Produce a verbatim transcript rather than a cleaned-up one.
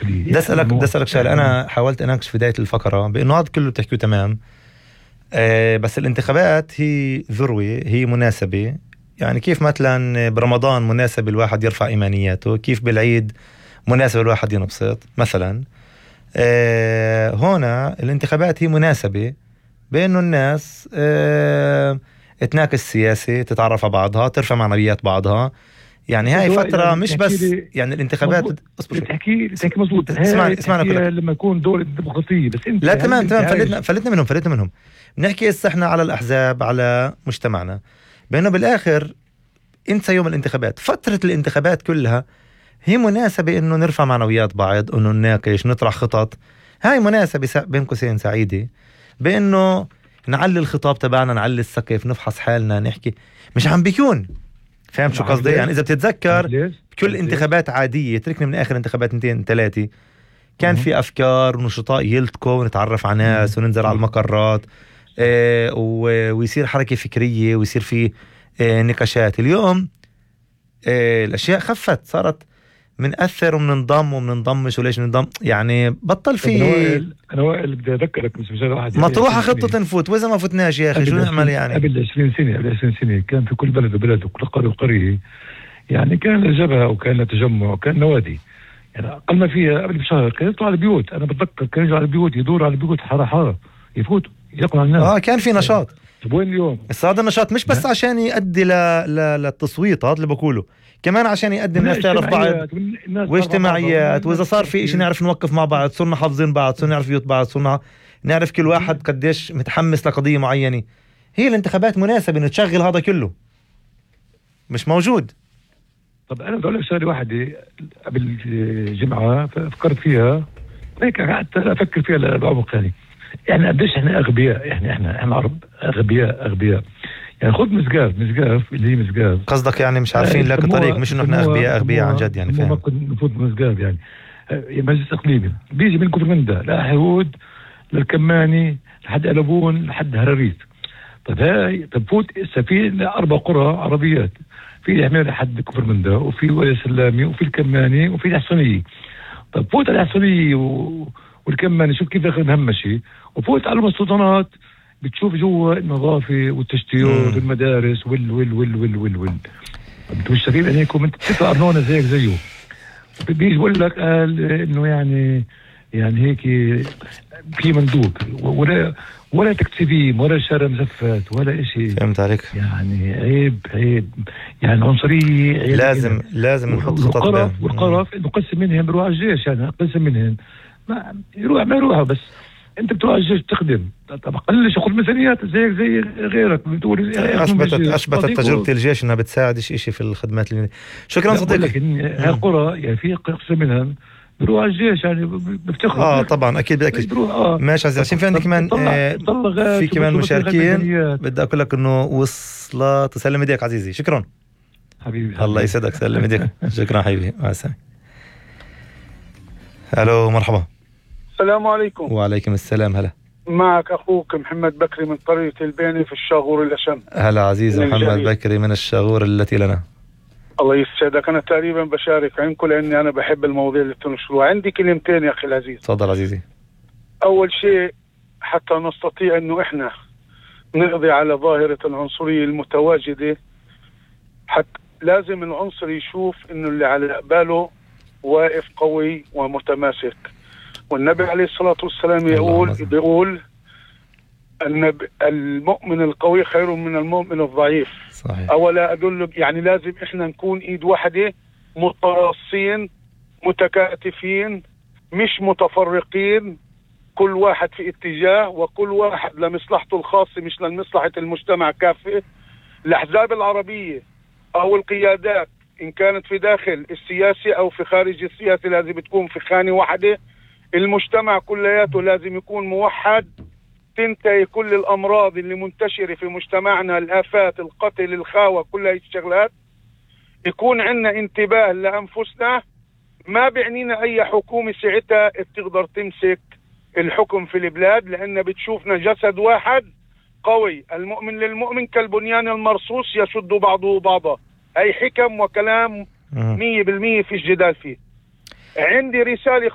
الداخلية. بدي أسألك بدي أسألك شغلة. أنا حاولت أناقش في بداية الفقرة بأنه هذا كله بتحكيه تمام، أه بس الانتخابات هي ذروة، هي مناسبة. يعني كيف مثلا برمضان مناسب الواحد يرفع إيمانياته، كيف بالعيد مناسب الواحد ينبسط مثلا. أه هنا الانتخابات هي مناسبة بأنه الناس أه تناقش سياسي، تتعرف على بعضها، ترفع معنويات بعضها. يعني هاي فترة يعني مش بس يعني الانتخابات تحكي تحكي مظبوط. اسمعني اسمعني لما يكون دولة ديمقراطية بس انت لا تمام تمام فلتنا فلتنا منهم فلتنا منهم بنحكي هسه احنا على الأحزاب، على مجتمعنا، بأنه بالآخر انسى يوم الانتخابات. فترة الانتخابات كلها هي مناسبة انه نرفع معنويات بعض، انه نناقش، نطرح خطط. هاي مناسبة بين قوسين سعيدة بانه نعلي الخطاب تبعنا، نعلي السقف، نفحص حالنا، نحكي. مش عم بيكون فاهم شو قصدي؟ يعني اذا بتتذكر كل انتخابات عادية، تركنا من اخر انتخابات انتين ثلاثة، كان في افكار ونشطاء يلتقوا ونتعرف على ناس وننزل على المقرات، اه ويصير حركة فكرية ويصير في اه نقاشات. اليوم اه الاشياء خفت، صارت منأثر ومننضم ومننضمش وليش ننضم. يعني بطل في انا وائل بدي اذكرك بس مش واحد مطروحة خطة تنفوت، واذا ما فتناش يا اخي شو نعمل؟ يعني قبل عشرين سنة قبل عشرين سنة كان في كل بلد وبلد وكل قرية وقرية يعني كان جبهة وكان تجمع وكان نوادي. يعني اقل ما فيها قبل بشهر كانوا يطلعوا على البيوت. انا بتذكر كانوا يجوا على البيوت، يدوروا على البيوت حارة حارة، يفوتوا يقرأوا على الناس. اه كان في نشاط. طيب وين اليوم؟ بس هذا النشاط مش بس عشان يؤدي ل... ل... للتصويت، هذا اللي بقوله، كمان عشان يقدم الناس تعرف بعض واجتماعيات، واذا صار في اشي نعرف نوقف مع بعض، صرنا حافظين بعض، صرنا نعرف بيوت بعض، صرنا نعرف كل واحد قديش متحمس لقضية معينة. هي الانتخابات مناسبة انه تشغل هذا كله، مش موجود. طب انا بدي اقول لك شغله واحده قبل جمعه فكرت فيها هيك، قعدت افكر فيها بعمق ثاني. يعني قديش احنا اغبياء، يعني احنا احنا عرب اغبياء اغبياء. يعني خذ مسقاف مسقاف اللي هي مسقاف، قصدك يعني مش عارفين لك طريق، مش انه احنا اغبياء اغبياء عن جد. يعني فاهم نفوت مسقاف يعني مجلس اقليمي بيجي من كفرمندا لحيود للكماني لحد قلبون لحد هراريت. طب هاي طب فوت في اربع قرى عربيات، في الحمير لحد كفرمندا وفي وادي سلامي وفي الكماني وفي الحصنية. طب فوت على الحصنية و... والكماني شوف كيف داخل مهمشي، وفوت على المستوطنات بتشوف جوا النظافة والتشتيات والمدارس وال وال وال وال وال وال انتوا مش شايفين عينيكم؟ انت بتدفع ارنونة زيك زيه. بيجي بقول لك قال انه يعني يعني هيك في مندوب ولا ولا تكتيفيم ولا شارع مزفت ولا اشي. فهمت عليك. يعني عيب عيب يعني عنصرية. لازم يعني لازم نحط خطط. والقرف والقرف نقسم منهم بروح على الجيش، يعني نقسم منهم ما يروح ما يروحوا، بس انت بتروح على الجيش تخدم. طب قلش خذ ميزانيات زيك زي غيرك بتقول. اثبتت اثبتت تجربة الجيش انها بتساعدش اشي في الخدمات اللي... شكرا صديقي. هالقرى يعني في قسم منهم بروح على الجيش يعني بفتخر. اه طبعا اكيد بدك آه. ماشي عزيزي، عشان في عندي كمان آه في كمان مشاركين بدي اقول لك انه وصلت. تسلم ايديك عزيزي، شكرا حبيبي. الله يسعدك، سلم ايديك. شكرا حبيبي، مع السلامه. الو مرحبا. السلام عليكم. وعليكم السلام. هلا معك اخوك محمد بكري من قرية الباني في الشاغور الاشم. هلا عزيزي محمد بكري من الشاغور التي لنا. الله يسعدك. انا تقريبا بشارك عندكم لاني انا بحب المواضيع اللي بتنشروها. عندي كلمتين يا اخي العزيز. تفضل عزيزي. اول شيء حتى نستطيع انه احنا نقضي على ظاهرة العنصرية المتواجدة، حتى لازم العنصر يشوف انه اللي على قباله واقف قوي ومتماسك. والنبي عليه الصلاة والسلام يقول بيقول أن المؤمن القوي خير من المؤمن الضعيف. صحيح. أولا أدل يعني لازم إحنا نكون إيد واحدة، متراصين متكاتفين، مش متفرقين، كل واحد في اتجاه وكل واحد لمصلحته الخاصة مش لمصلحة المجتمع كافة. الأحزاب العربية أو القيادات إن كانت في داخل السياسة أو في خارج السياسة لازم تكون في خانة واحدة. المجتمع كلياته لازم يكون موحد، تنتهي كل الأمراض اللي منتشرة في مجتمعنا، الآفات، القتل، الخاوة، كل هاي الشغلات. يكون عندنا انتباه لأنفسنا. ما بعنينا أي حكومة ساعتها بتقدر تمسك الحكم في البلاد، لأن بتشوفنا جسد واحد قوي. المؤمن للمؤمن كالبنيان المرصوص يشد بعضه بعضا. أي حكم وكلام مية بالمية في الجدال فيه. عندي رسالة